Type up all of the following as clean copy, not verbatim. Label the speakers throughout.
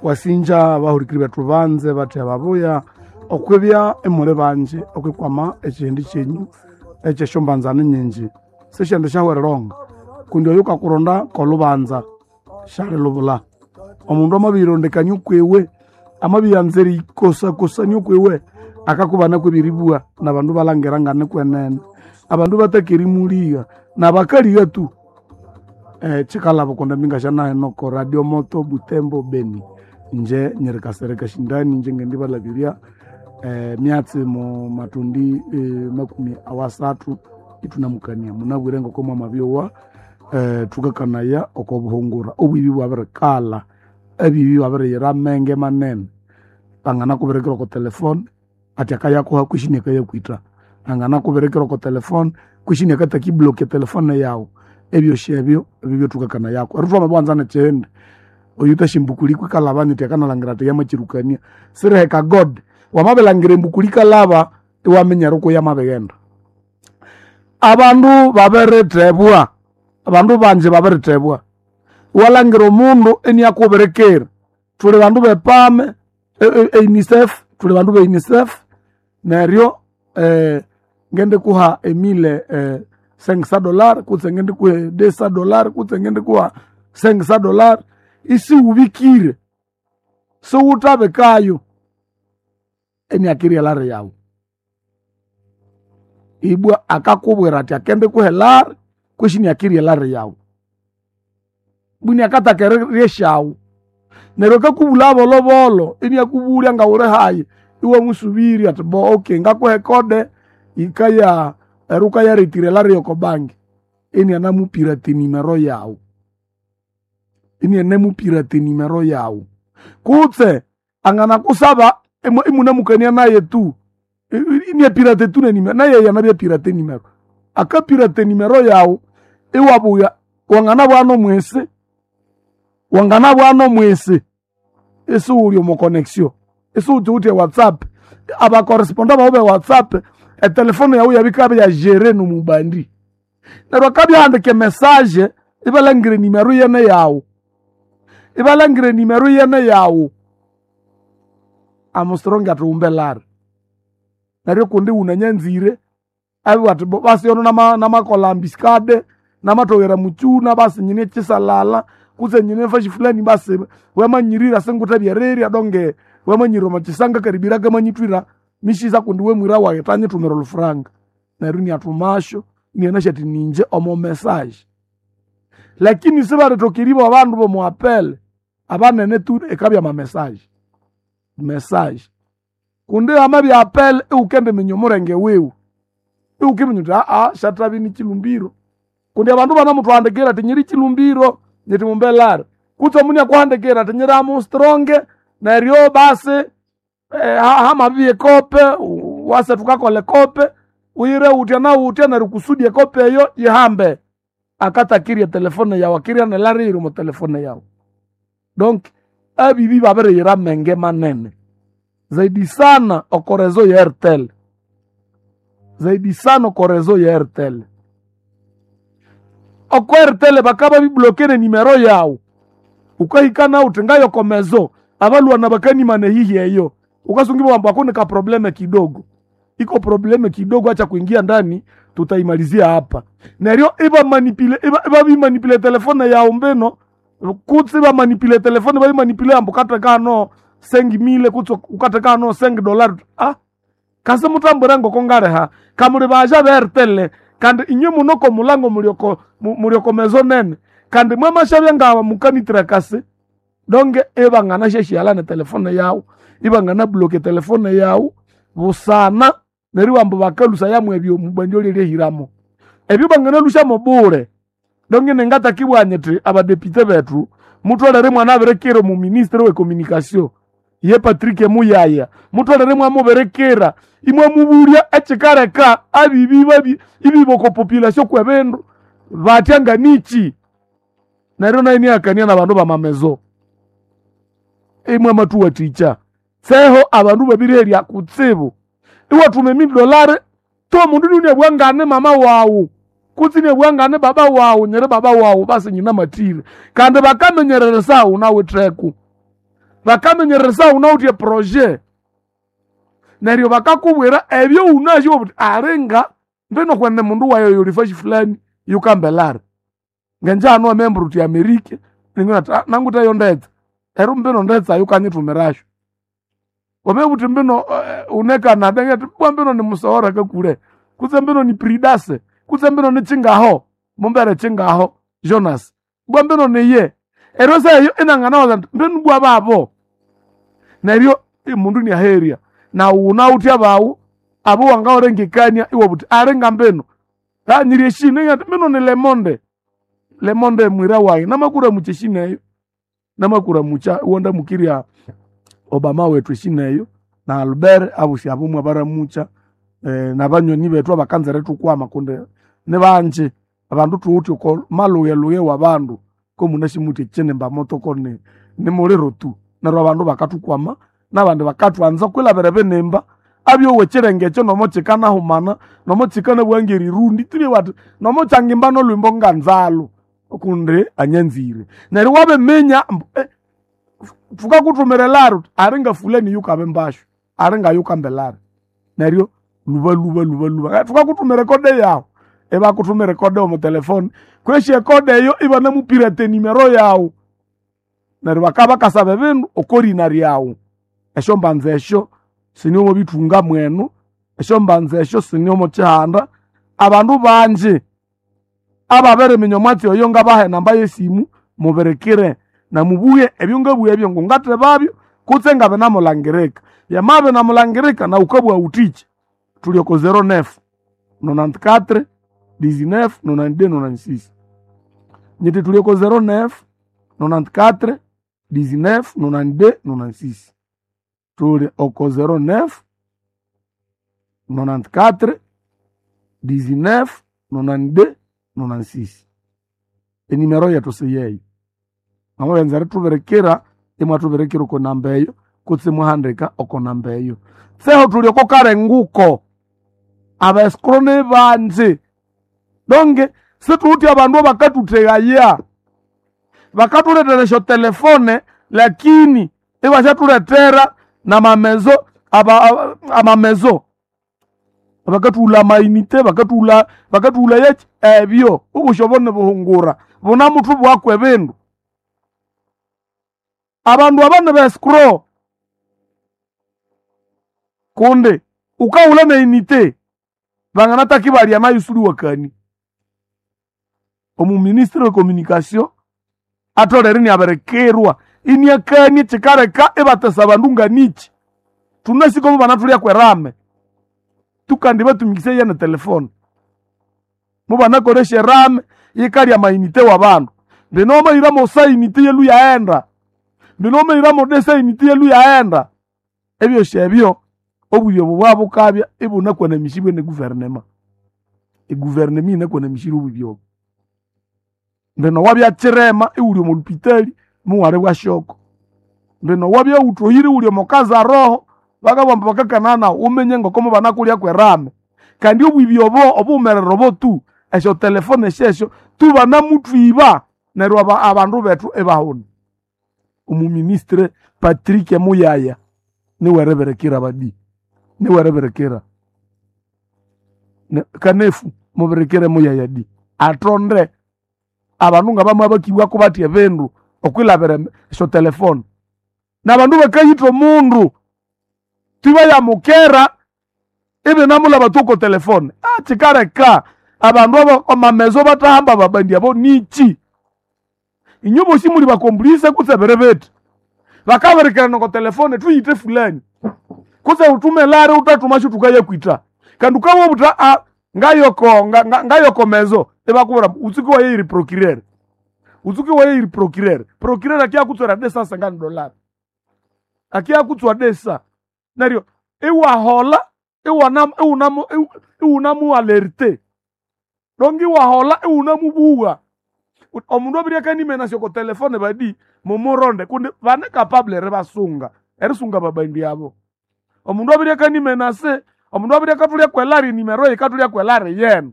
Speaker 1: Wasinja abahurikiri bethu banze bathe babuya okwibya imuli banji okwikwama ekihindi kyenyu ekyesyombanzano nyingi. Sisyendi syahwerilonga kundi oyu kakuronda kolubanza syalilubula. Omundu amabiyirondekania okwiwe, amabiyanza erikosakosania okwiwe, akakubana kwebiribwa nabandu balangira nganikwenene. Abandu bataka erimuligha nabakaligha tu. Kyikalaba kundi embinga syanahino oko Radio Moto Butembo Beni. Inje nyiri Kasereka Shindani inje ngendibalabirya emyatsi mu matundi makumi awasathu ithunamukania. Munabwire ngoko mwamabyowa thukakanaya oko buhungura. Obwibi bwabirikalha, ebibi babiriyira amenge manene. Banganakubirikira oko telefone athi akayakuha kwishi inakayakwitha. Anganakubirikira oko telefone kwishi inakathaka iblock etelefone yawu. Ebyosi ebyo ebyo thukakanayaku. Neryo thwamabiwanza nekyindi, oyuthasi embukuli kwikalhaba nyithi akanalhangira athi yamakyirukania. Siriheka God, wamabilhangira embukuli ikalhaba iwaminya eriko yamabighenda. Abandu babirithebwa, abandu bangi babirithebwa. Iwalhangira omundu iniakubirikira. Thuli bandu bepame e UNICEF, thuli bandu be UNICEF neryo ngendikuha emile $500 kutse ngendikuha $200 kutse ngendikuha $500 isiwubikire, siwuthabikayo iniakirya elari yawu. Ibwa akakubwira athi akendikuha elari kwishi iniakirya elari yawu. Ibwa iniakathaka erirya esyawu. Neryo akakubulha bolhobolho iniakubulya ngawuli hayi, iwamusubirya athi bo okay ngakuha ecode yikaya neryo wukayaretira elari yoko banki. Inianamupirata enimero yawu, inianamupirata enimero yawu. Kutse anganakusaba imunamukania naye tu, iniapirata tu nenimero, naye yanabyapirata enimero. Akapirata enimero yawu iwabuya wanganabya nomwisi, wanganabya nomwisi isiwuli omo connection, isiwuthiwithe ewhatsapp. Abacorresponda bawu be whatsapp etelefone yawu yabikabya ya géré nomubandi. Neryo akabya ahandika emessage ibalhangira enimero iyene yawu, ibalhangira enimero iyene yawu. Amustrong athi wumba elari. Neryo kundi wunanyanzire abibugha athi bo basi ono namakolha ambiscade, namatoghera mukyuna basi nyine ekisalala kutse nyine efashi fulani basi wamanyirira singuthe erirya donge wamanyirira omo kisanga karibira kamanyithwira misisa kundi wemwira wayi thanyithumira olhufuranga. Neryo iniathumasyo inianasi athi ninje omo message. Lakini sibarithoka eribugha abandu bomo apel abanene tu ikabya ama message, message. Kundi hamabya apel iwukendiminya omulenge wiwe, iwukiminya wuthi syathabya ni kilumbiro. Kundi abandu banamuthwandikira athi nyiri kilumbiro nyithi mumbe elari. Kutse omundu iniakuhandikira athi nyiri Armstrong neryo basi hamabibya ekope wase thukakolha ekope uyire wutya na wutya neryo kusudi ekope eyo yihambe. Akathakirya etelefone yawu akirya nelari eyiri omo telefone yawu. Donc abibi babiriyira amenge manene. Zaidi sana oko reseau ye Airtel, zaidi sana oko reseau ye Airtel. Oko Airtel bakababibloquer enimero yawu, wukahika nawu wuthi ngayoko mezo abalhwana bakanimana ehihi eyo, wukasunga ibugha ambu ako nika probleme kidogo. Iko probleme kidogo acha kuingia ndani tutaimalizia hapa. Neryo ibamanipule ibabimanipula etelefone yawu mbino kutse ibamanipula etelefone babimanipule ambu wukatheka hano 5,000 kutse wukatheka hano $5. Kasi muthambwire ngoko ngaliha kamuli baja be Airtel kandi inywe munoko mulango mulyoko mulyoko mezo nene kandi mwamasyabya ngaba mukanithira kasi donge ibanganasyasyaghana netelefone yawu, ibanganablock etelefone yawu busana neryo ambu bakalhusayamu ebyo omubandi olyelyehiramo. Ebyo banganalhusyamo bule. Donge ningatakibugha nyithi abadepite bethu mutholere mwanabirikira omuministre we communication ye Patrick Muyaya, mutholere mwamubirikira imwamubulya ekikaleka abibi babi ibiba oko population kwebindu batya nganikyi. Neryo nayo iniakania nabandu bamamezo imwamathuwathikya. Tseho abandu babiriherya kutsibu. Iwathuma emilli dollar to omundu iniabugha ngane mama wawu. Kutse inabugha ni baba wawu, nyiri baba wawu basi nyinamathire. Kandi bakamenyereresa wunawitheko. Bakamenyereresa wunawithe eprojet. Neryo bakakubwira ebyo wunasi iwabugha wuthi alinga mbino kwene mundu wayi oyo yuli fulani yukambelari. Ngenje hanu wamambwira wuthi Amerika, iningana athi nangutheyo ndetsa. Neryo mbino ndetsa yukanyithumirasyo. Wamabugha wuthi mbino wune Canada, ingathi bwa mbino nimusoghora kakule, kutse mbino ni Pridase, kutse mbino ni Kyingaho, mumbere Kyingaho Jonas, bwa mbino niye. Neryo esaha eyo inanganawaza indi mbinu bwa babo. Neryo omundu iniaherya. Nawu wunawithe abawu abo wangawulengekania iwabugha wuthi alinga mbino nganyirya eshina, ingathi mbino ni Lemonde. Lemonde mwira wayi namakuramukya eshina eyo, namakuramukya iwandamukirya Obama wethu eshina eyo, na Albert abosi abo mwabaramukya, nabanywani bethu abakanza erithukwama kundi nibangi. Abandu thuwithe oko malhughelhughe wabandu komunasi muthi ekyinimba moto koni nimuliro tu. Neryo abandu bakathukwama nabandi bakathwanza kwilabira ebinimba abyowa ekyirenge ekyo nomo kyikanahumana, nomo kyikanabugha ngerirundi thulye bathi nomo kyangimba nolhwimbo nganzalu kundi anyanzire. Neryo wabiminya ambu thukakuthumira elari wuthi alinga fulani yukabimbasyo, alinga yukamba elari. Neryo lhuba lhuba lhuba lhuba thukakuthumira ekode yawu, ibakuthumira ekode omo telefone, kwesi ekode eyo ibanamupirata enimero yawu. Neryo bakabya bakasaba ebindu okorina ryawu. Esyombanza esyo siniomo bithunga mwenu, esyombanza esyo siniomo kyihanda. Abandu bangi ababiriminya omwatsi oyo ngabaha enamba yesimu mubirikire namubughe ebyongabugha ebyo ngungathebabyo kutse ngabinamulangirika. Byamabya binamulangirika nawu wukabugha wuthikyi. Thuli oko 09 94 19 92 96. Nyithi thuli oko 09 94 19 92 96. Thuli oko 09 94 19 92 96. Enimero yethu siyeyo. Mwamawenza erithubirikira, imwathubirikira oko namba eyo kutse imwahandika oko namba eyo. Tseho thuli oko karenguko. Abaescrow nibangi. Donge sithuwithe abandu abakathuthegaya. Bakathulethera esyotelefone lakini ibasyathulethera namamezo amamezo. Bakathughulha amainite, bakathughulha bakathughulha ebyo obusi obo nibuhungura bunamuthubwaku ebindu. Abandu aba ni ba escrow kundi wukahulha neinite banganataka ibalya nayu isiwuliwakania. Omuministry we communication atholere inabirikirwa iniakania kyikaleka ibatesa abandu nganikyi. Thunasi komo banathulyaku erame tukandi batumikisaya ne telefone. Mubanakolesya erame yikalya amainite wabandu. Mbino wamahiramo sainite yalwe yaghenda, mbino wamahiramo desainite yalwe yaghenda. Ebyosi ebyo obwibi obo bwabukabya ibunakwanamisibwe ne government. Egovernment yinakwanamisire obwibi obo. Mbino wabya kyirema iwuli omo lupitali muwalibwa shoko. Mbino wabya wuthohire iwuli omo kazaroho bakabugha ambu bakakana nawu wuminye ngoko mubanakulyaku erame. Kandi obwibi obo obughumerere obo tu esyotelefone syesyo tu banamuthwiba neryo abandu bethu ibahuna. Omuministry Patrick Muyaya niweribirikira badi, niweribirikira. Kanefu mubirikire Muyaya di athonde abandu ngabamabakibwako bathi ebindu okwilabira esyotelefone. Nabandu bakayitha omundu tibayamukera ibinamulhaba tu oko telefone. Kyikaleka abandu abo amamezo bathahamba ababandi abo nikyi? Inywe bosi muli bakomplice kutse biri bithi. Bakabirikirana oko telefone thuyithe fulani kutse wuthume lari wuthathumasyo thukayakwitha. Kandi wukabugha wuthi ngayoko ngayoko mezo ibakubwira ambu wutsuke wayeyira procureur, wutsuke wayeyira procureur. Procureur akiyakutswera desa sengani dolari, akiyakutswa desa. Neryo iwaholha iwunamualerte donk iwaholha iwunamubugha. Omundu abirya akanimenasya oko telefone badi mumuronde kundi bane capable eribasunga, erisunga ababandi abo. Omundu abirya akanimenase, omundu abirya akathulyaku elari enimero yikathulyaku elari yenu.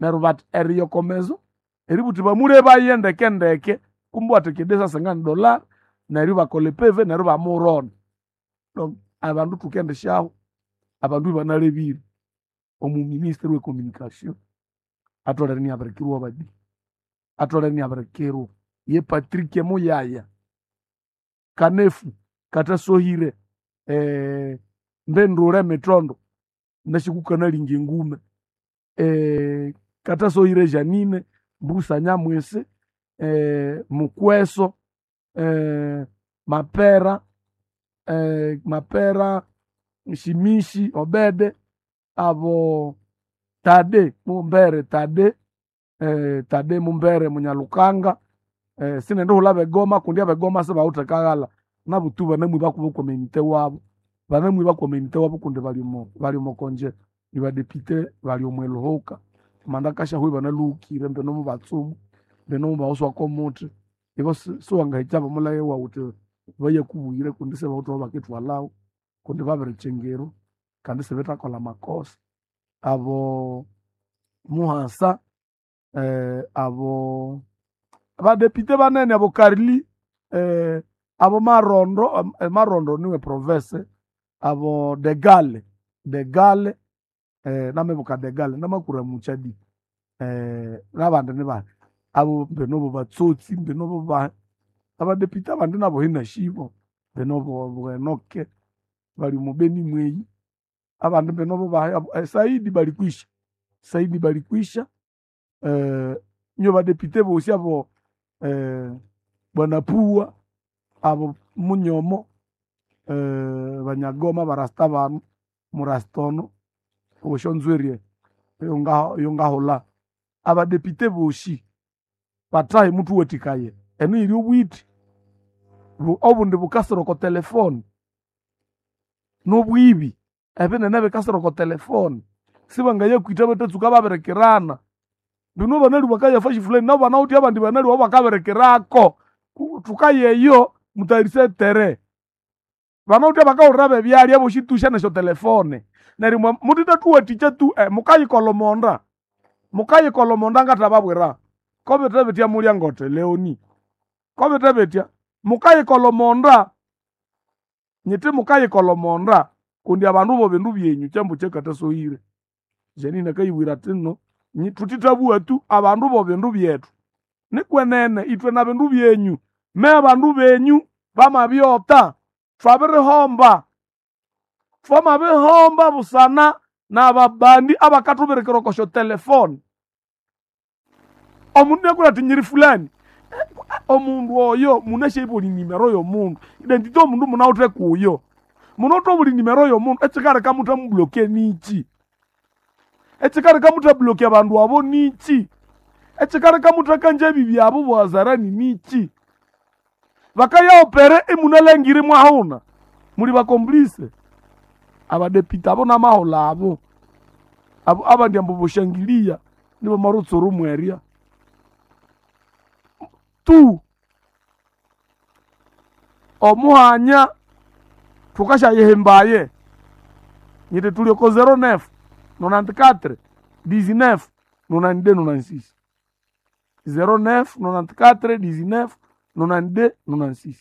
Speaker 1: Neryo bati eriyokomezo eributhi bamulebaye ndeke ndeke kumbe wathekede sasengani dollar neryo bakola epeve neryo bamuronda. Donc abandu thukendisyaho abandu ibanalebire omuministry we communication atholere iniabirikirwa abadi atholere iniabirikirwa ye Patrick Muyaya Kanefu katasohire mbendule mitondo nashikukanalinga engume katasohire Janine Mbusa Nyamwisi Mukweso Mapera Mapera Shimishi Obede abo Tade Mumbere Tade Tade Mumbere Munyalukanga sinendihulha abegoma kundi abegoma sibawithe kaghalha nabutu banamwiba kubo community wabo banamwiba community wabo kundi bali omo konje nibadepite bali omo eluhuka manda kashahu ibanaluhukire mbino mubatsumu mbino mubawuswako omuthi ibo siwangahikya bamulaghe wawu wuthi bayakubuyire kundi sibawithe aho bakithwalhawu kundi babirikyingirwa kandi sibithakolha amakosa abo Muhasa abo abadepite banene abo Karli abo Marondo Marondo niwe province abo Degale Degale namibuka Degale namakura muchadi nabandi nibandi abo mbino batsotsi mbino ba abadepite abandi nabo hinashibo mbino Bwenoke bali mubeni mweyi abandi mbino ba Saidi balikwisha Saidi balikwisha nyo badepite bosi abo Bwana Pua abo Munyomo Banyagoma barasta banu murastono oshonzwerie yongahulha abadepite bosi bathahe muthuwathikaye eno yiri obwithi obundi bukasira oko telefone nobwibi ebinene bikasira oko telefone sibangayakwitha batatsuka babirikirana bino banalwi bakayafa fulani nabo banawithe abandi banalwi abo bakabirikirako thukayeyo mutayarise tere banawithe bakahulira bebyalya bosi tusha nesyo telefone neryo mutithathuwathikya tu mukayikolhomonda mukayikolhomonda ngathababwira kobithe bitya mulya ngote Leoni kobithe bitya mukayikolhomonda nyiti mukayikolhomonda kundi abandu bo bindu byenyu kyambu kyakathasohire Janine akayibwira athi nno thutithabugha tu abandu bo bindu byethu nikwenene ithwe na bindu byenyu me abandu benyu bamabyota thwabirihomba thwamabihomba busana nababandi abakathubirikira oko syotelefone omundu inakubwira athi nyiri fulani omundu oyo munasyaibwa nimero yomundu identity omundu munawithe kuyo munawithe obuli nimero yomundu ekikaleka muthamubloke niki ekikaleka muthabloke abandu abo niki ekikaleka muthakanja ebibi abo bwazarani niki bakayaopere imunalangire mwahuna muli bakomplice abadepite abo namahulha abo abo abandi ambu bushangilia nibo marutsuru mwerya tu omuhanya thukasyayihimbaye nyiti tuli oko 09 94 19 92 96 09 94 19 92 96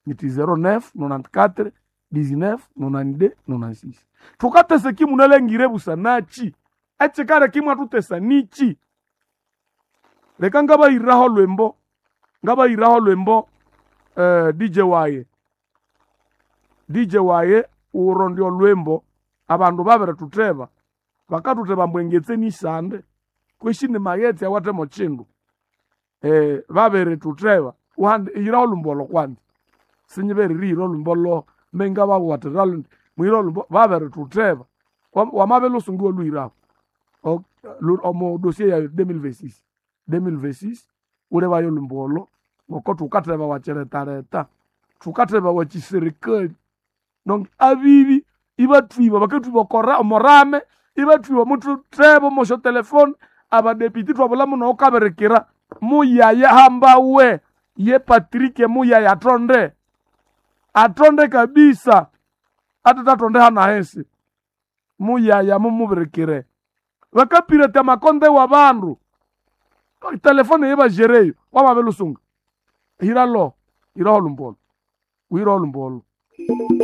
Speaker 1: nyiti 09 94 19 92 96 thukatesa kimunalangire busanachi echikale kimwathutesa nichi leka ngabayiraho lwembo ngabayiraho lwembo DJ waye DJ waye uro ndio lwembo abandu babiritutheba bakathutheba ambu engetse nisande kweshi ni maghetse awathe chindu babiritutheba uhandi iyiraho olwimbo olwo kwanza sinyibereriyira olwimbo lo menga bawathira lundi mwira olwimbo babiritutheba wamabele usungu olwiraho omo dossier ya 2026 2026 ulebayo olwimbo olo ngoko thukatheba wachiretareta thukatheba wachiserikali donc abibi ibathwiba bakatwiba okora omorame ibathwiba muthutheba omosyo telefone abadepiti thwabula muno okabirikira muyaya hambawe ye Patrick muyaya atonde atonde kabisa atatatonde hana hesi muyaya mumubirikire. Bakapirata amakonde w'abandu. Telefone yebajereyo wamabilusunga. Hira lo, hira olumbolo. Wira olumbolo.